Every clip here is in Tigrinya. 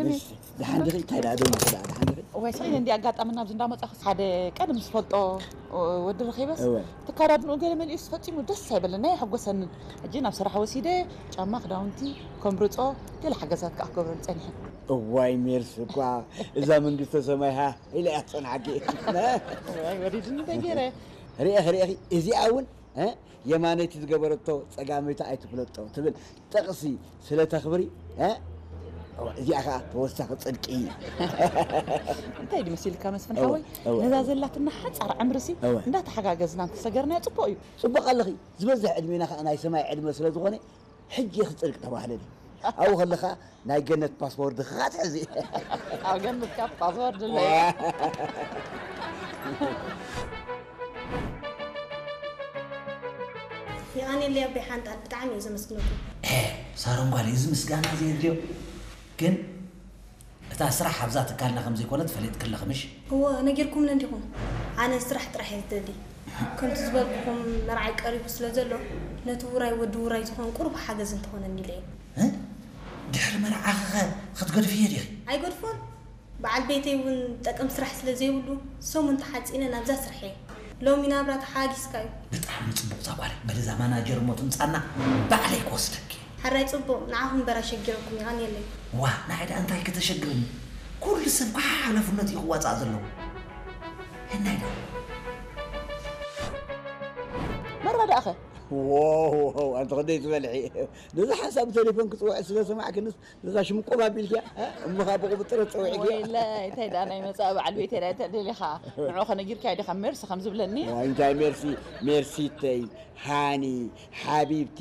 ከመይ? ደሓን ዲኺ? እንታይ ደኣ ደው ኢልኪ ደኣ፣ ደሓን ዲኺ? እዋይ፣ ስቕ ኢለ እንዲ ኣጋጣሚ ናብዚ እንዳመጻኹ ሓደ ቀደም ዝፈልጦ ወዲ ረኺበስ፣ እወ። እቲ ኣከዳድንኡ ገለ መሊኡስ ፈጺሙ ደስ ኣይበለና፣ ኣይሐጎሰንን። ሕጂ ናብ ስራሕ ወሲደ ጫማ፣ ክዳውንቲ ከምርጾ፣ ገለ ሓገዛት ከኣ ክገብረሉ ጸኒሐ። እዋይ፣ ሜርሲ እኳ እዛ መንግስተ ሰማይ ሃ ኢላ እያ ትጸንሓኪ። እዋይ፣ ወሪድኒ እንታይ ገይረ? ርኢኺ፣ ርኢኺ፣ እዚኣ እውን እ? የማነይቲ ዝገበረቶ ጸጋመይቲ ኣይትፍለጦ ትብል ጥቕሲ ስለ ተኽብሪ፣ እ? እዋ፣ እዚኣ ኸኣ ተወሳኺ ጽድቂ። እንታይ ድዩ መሲልካ መስፍን እዋ፣ ሓወይ? እዋ፣ ነዛ እዋ። ዘላትና ሓጻር ዕምርሲ እዋ። እንዳተሓጋገዝና እንተሰገርናዮ ጽቡቕ እዩ። ጽቡቕ ኣለኺ። ዝበዝሕ ዕድሜና ኸኣ ናይ ሰማይ ዕድመ ስለ ዝኾነ፣ ሕጂ ኢኺ ጽድቂ ተባህለኒ። ኣብኡ ከለኻ ናይ ገነት ፓስፖርት ኸኣ ትሕዚ። ኣብ ገነት ካብ ፓስወርድ ኣሎ። ዋ። የቐንየለይ ኣቦይ ሓንጣል፣ ብጣዕሚ እየ ዘመስግነኩም። ኤ፣ ሳሮን ጓለይ፣ እዚ ምስጋና ዘየድልዮ። ግን እታ ስራሕ ኣብዛ ትካልና ከም ዘይኮነት ፈሊጥኪ ኣለኺ፣ ምሽ? እወ፣ ነጊርኩምኒ እንዲኹም። ኣነ ስራሕ ጥራሕ እየ ዝደሊ። ከምቲ ዝበልኩኹም፣ መርዓይ ቀሪቡ ስለ ዘሎ፣ ነቲ ውራይ ወዲ ውራይ ዝኾን ቁሩብ ሓገዝ እንተኾነኒ ኢለ እየ። እ? ድሕሪ መርዓኺ ኸ ክትገድፍዮ ዲኺ? ኣይገድፎን። በዓል ቤተይ እውን ጠቅም ስራሕ ስለ ዘይብሉ፣ ሰሙን ተሓጺነ ናብዛ ስራሕ እየ። ሎሚ ናብራ ተሓጊስካ እዩ። ብጣዕሚ ጽቡቕ እዛ ጓለይ። በሊ እዛ ማናጀር እሞ ትምጻና ባዕለይ ክወስደኪ። ሕራይ ጽቡቕ፣ ንዓኹም እምበር ኣሸጊረኩም፣ የቐንየለይ። ዋ፣ ንዓይ ደኣ እንታይ ከተሸግርኒ? ኩሉ ሰብ ከዓ ሓላፍነቱ እዩ ክዋጻእ ዘለዎ። ህናይ ደኣ። መርባ ደኣኸ? ዎው፣ ዎው፣ ኣንቲ ክንደይ ትበልሒ። ነዚ ሓሳብ ብቴሌፎን ክጽውዕ ስለ ሰማዕክንስ፣ ነዛ ሽምቁብ ኣቢልኪያ፣ እ? እሞ ኸኣ ብቑብጥረት ጸዊዕክያ። ወይለይ፣ እንታይ ደኣ ናይ መጻኢ በዓል ቤተይ ደኣ እንታይ ደሊኻ? ንዑ ከነጊርካዮ ዲኻ ሜርሲ ከም ዝብለኒ? ዋይ፣ እንታይ ሜርሲ፣ ሜርሲተይ፣ ሃኒ፣ ሓቢብቲ፣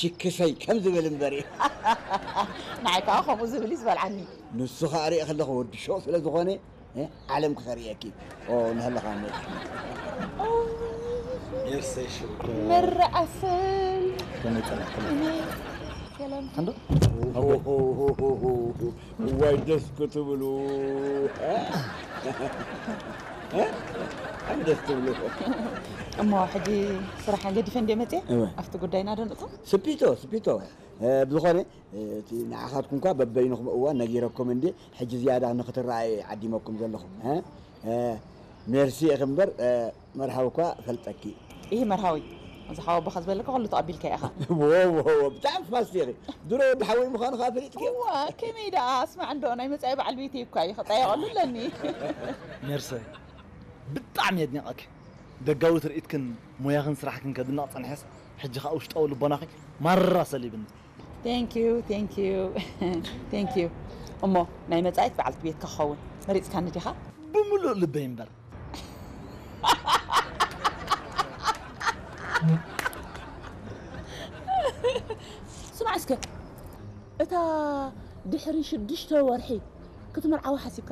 ችክሰይ ከም ዝብል እምበር እዩ። ንዓይ ከኣ ከምኡ ዝብል እዩ ዝበልዓኒ። ንሱ ከኣ ሪኢ ከለኹ ወዲ ሾቕ ስለ ዝኾነ፣ እ፣ ዓለም ክኸርእየኪ። ኦ፣ እናሃለኻ እሞ። ሜርሰይ ሽኮር። መርዓሰል። ከመይ ጸኒሕኩም? እኔ ሰላም። ሓንዶ? እዋይ ደስ ክትብሉ። እ? እ? ደስ ትብሉ። እሞ ሕጂ ስራሕ ገዲፈ እንደ መጽየ እወ። ኣብቲ ጉዳይና ዶ ንእቶ? ስፒቶ፣ ስፒቶ። እ፣ ብዝኾነ፣ እ፣ እቲ ንዓኻትኩም እኳ በበይንኹም እዋን ነጊረኩም እንዴ፣ ሕጂ ዝያዳ ንኽትረኣየ ዓዲመኩም ዘለኹም፣ እ? እ፣ ሜርሲ ኢኺ እምበር፣ እ፣ መርሃዊ እኳ ፈልጠኪ። ይሄ መርሃዊ፣ እዚ ሓወቦኻ ዝበለካ ኩሉ ተቐቢልካ ኢኻ። ዎ፣ ዎ፣ ዎ፣ ብጣዕሚ ፋስት ኢኺ። ድሮ ወዲ ሓወይ ምዃኑ ኸኣ ፈሊጥኪ። እዋ፣ ከመይ ደኣ፣ ስማዕ እንዶ፣ ናይ መጻኢ በዓል ቤተይ እኳ እዩ፣ ክጣየቐሉ ኣለኒ። ሜርሲ፣ ብጣዕሚ የድንቐኪ። ደጋዊ ትርኢትክን ሞያኽን ስራሕክን ከድንቕ ጸኒሐስ፣ ሕጂ ኸኣ ውሽጣዊ ልቦናኺ ማራ ሰሊብኒ። Thank you, thank you, thank you። እሞ ናይ መጻኢት በዓልቲ ቤትካ ክኸውን መሪጽካኒ ዲኻ? ብምሉእ ልበይ እምበር። ስማዕ እስከ፣ እታ ድሕሪ ሽዱሽተ ወርሒ ክትምርዓዋ ሓሲብካ